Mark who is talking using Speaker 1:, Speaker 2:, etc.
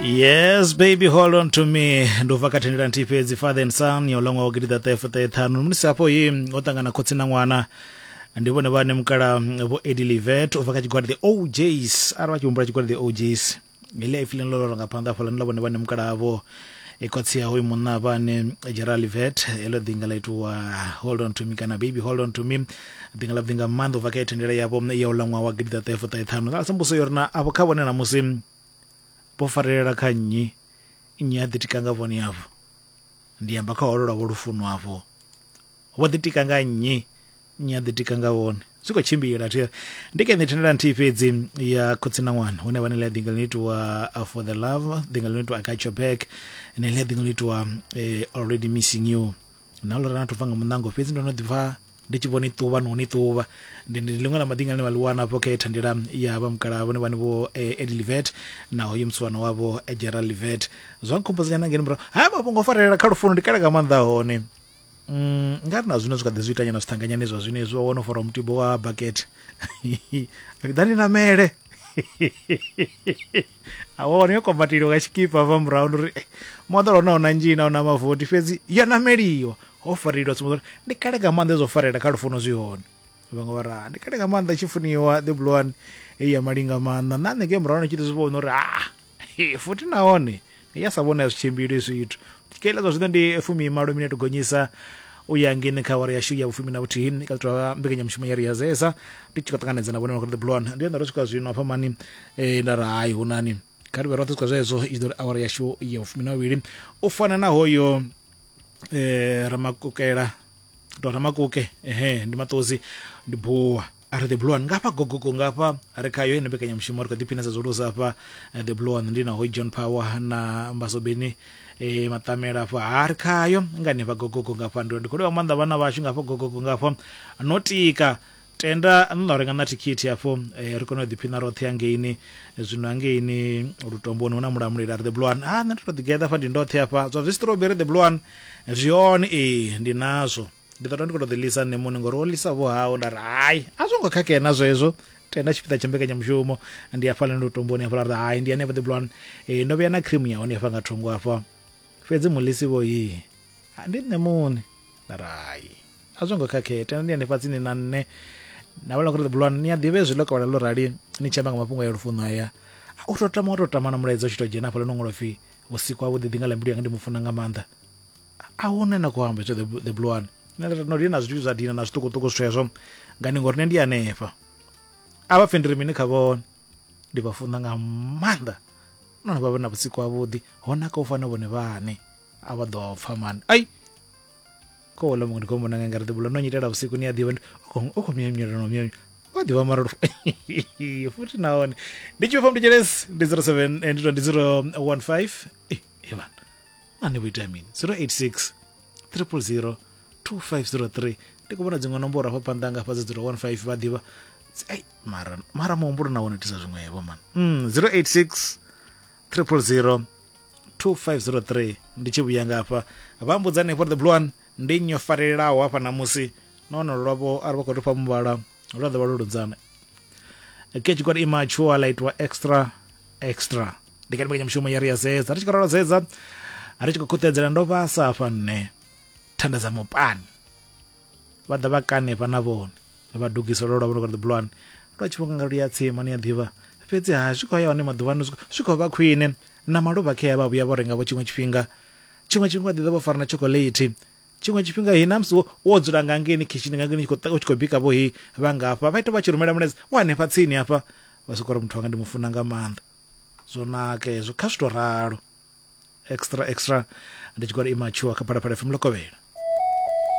Speaker 1: Yes baby hold on to me ndo bva kha thendela nthihi fhedzi father and son ya ulangwa wa gidiḓa ṱahe fuṱahe ṱhanu musi hafho hi o ṱangana khotsi na ṅwana ndi vhone vhane mukala vho Eddie Livet u bva kha tshigwada the OJs arali vha tshi humbula tshigwada the OJs heḽi ipfi ḽine ḽo lora nga phanḓa hafhaḽa ndi ḽa vhone vhane mukala havho e khotsi ya hoyu munna vhane Gerald Livet heḽo ḓinga ḽa itiwa hold on to me kana baby hold on to me ḓinga ḽa ḓinga maanḓa u bva kha thendela yavho ya uḽa ṅwaha wa gidiḓa ṱahe fuṱahe ṱhanu ḽa sambuso yo ri na avho kha vhone namusi vho farelela kha nnyi nnyi a ḓitika nga vhone avho ndi amba kha holo lwavho lufuno afho vho ḓitika nga nnyi nnyi a ḓitika nga vhone zwi khou tshimbila thi ndi kha thendela nthihi fhedzi ya khotsi na ṅwana hune vhane ḽa ḓinga ḽino itiwa for the love ḓinga ḽino itiwa I got your back ne ḽa ḓinga ḽino itiwa already missing you na ḽo rana thobva nga muṋango fhedzi ndo no ḓi pfa ndi tshi vhona iṱuvha no ni ṱuvha ndi ndi ḽiṅwe ḽa maḓinga ḽine vha ḽi wana afho kha thandela ya vha mukalaha vhone vhane vho Eddie Livet na hoyu musiwana wavho Gerald Livet zwa nkhumbudza nyana ngeni murahu haya mafhungo o farelela kha lufuno ndi kale nga maanḓa hone Mm, nga ri na zwino zwi kha ḓi zwi itanyana zwiṱanganyani zwa zwino hezwi wa wana u fara mutibo wa bucket ḓani namele a wana yo kombateliwa nga tshikipa hafha murahu ndi uri eh, moḓoro na una nzhina una mavoti fhedzi yo nameliwa ho fareliwa tsumbo uri ndi kale nga maanḓa zwo farela kha lufuno zwi hone vhaṅwe vha ra ndi kale nga maanḓa tshi funiwa the blue one heyi ya malinga maanḓa na nṋe ke murahu ni tshi ḓi zwi vhona uri ah futhi nahone ya sa vhona zwi tshimbili zwithu keiḽa zwa zwino ndi fumimalo minete gonyisa u ya ngeni kha awara yashu ya vhufumi na vhuthihi kha tovha mbekanyamushumo ya ri ya zesa ndi tshi khou ṱanganedza na vhone vha the blue one ndi ndo swika zwino hafha mani nda ri hai hunani kha ri vhe roṱhe swika zwezwo i ḓo ri awara yashu ya vhufumi na vhuvhili u fana na hoyo ramakukela to ramakuke ehe ndi maṱozi ndi buwa a ri the blue one ngafha gogogo ngafha ri khayo ine mbekanyamushumo ri khou ḓiphina sa zwolusa hafha the blue one ndi na hoy John Power na Mbasobeni maṱamela hafha ha ri khayo nga hanefha gogogo ngafha ndi khou livha maanḓa vhana vhashu ngafha gogogo ngafha no tika tenda nṋe renga na thikhithi hafho ri kone u ḓiphina roṱhe hangeini zwino hangeini lutomboni hu na mulamuleli a ri the blue one ha nṋe ndo to ḓigeḓa hafha ndi ndoṱhe hafha zwa zwi strawberry the blue one zwi hone ee ndi nazwo ndi ḓo tou ndi khou tou ḓi lisa nṋe muṋe ngori wo lisa vho hao nda ri hai a zwo ngo khakhea na zwezwo tenda tshipiḓa tsha mbekanyamushumo ndi hafhaḽa ndo tomboni hafhaḽa ri hai ndi hanefha the blue one ndo vhuya na cream ya hone hafha nga thungo hafha fhedzi mulisi vho yi ndi nṋe muṋe nda ri hai a zwo ngo khakhea tenda ndi hanefha tsini na nṋe na vhala kuri the blue one ni a ḓivha hezwi ḽo kovhela ḽo rali ni tshi amba nga mafhungo ya lufuno haya u tou tama wa tou tama na mulaedza u tshi tou dzhena hafhaḽa no ṅwalwa pfhi vhusiku havhuḓi ḓi nga ḽa mbilu yanga ndi mu funa nga maanḓa a huna na khou amba hezwo the blue one nṋe no lina zwithu zwa dina na zwiṱukuṱuku zwithu hezwo ngani ngori nṋe ndi hanefha a vha pfhe ndi ri mini kha vhone ndi vha funa nga maanḓa nahone vha vhe na vhusiku havhuḓi ho naka u fana vhone vhane a vha ḓo pfa mani ai ko wala muṅwe ndi khou mbona nga ri the blue no nyitela vhusiku ni a ḓivha u khou myamyela no myamyela vha ḓivha mara futhi nahone ndi tshi vha mnditshelesi ndi 07 ndi 015 eh vhana ani vho ita mini 086 000 2503 ndi khou vhona dziṅwe nomboro hafha phanḓa nga hafha dza 015 vha ḓivha ai mara mara muhumbulo na wone itisa zwiṅwevho man 086 000 2503 ndi tshi vhuya nga hafha vha mbudza hanefho the blue one ndi nnyi o farelelaho hafha ṋamusi nahone lwavho arali vha khou ri fha muvhala lwa ḓo vha lwo lunzana ke tshigwada imachua ḽa itwa extra extra ndi kha mbekanyamushumo ya ri ya zedza ri tshi khou ralo zedza ri tshi khou khuṱedzela ndo vhasa hafha nṋe thanda dza mupani vha ḓa vha kane fha na vhone vha dugisa lwo lwa vhone the blue one lwa tshi vhonga nga lu ya tsima ni a ḓivha fhedzi ha zwi khou ya hone maḓuvhano zwi khou vha khwine na maluvha khea vha vhuya vho renga vho tshiṅwe tshifhinga tshiṅwe tshifhinga ḓi ḓa vho fara na chocolate tshiṅwe tshifhinga hi na musi wo dzula nga ngeni khishini nga ngeni u tshi khou bika vho hi vha ngafha vha ita vha tshi rumela mulaedza wa hanefha tsini hafha vha soko uri muthu wanga ndi mu funa nga maanḓa zwo naka hezwo kha zwi to ralo extra extra ndi tshigwada immature kha Phalaphala FM Lokovhela.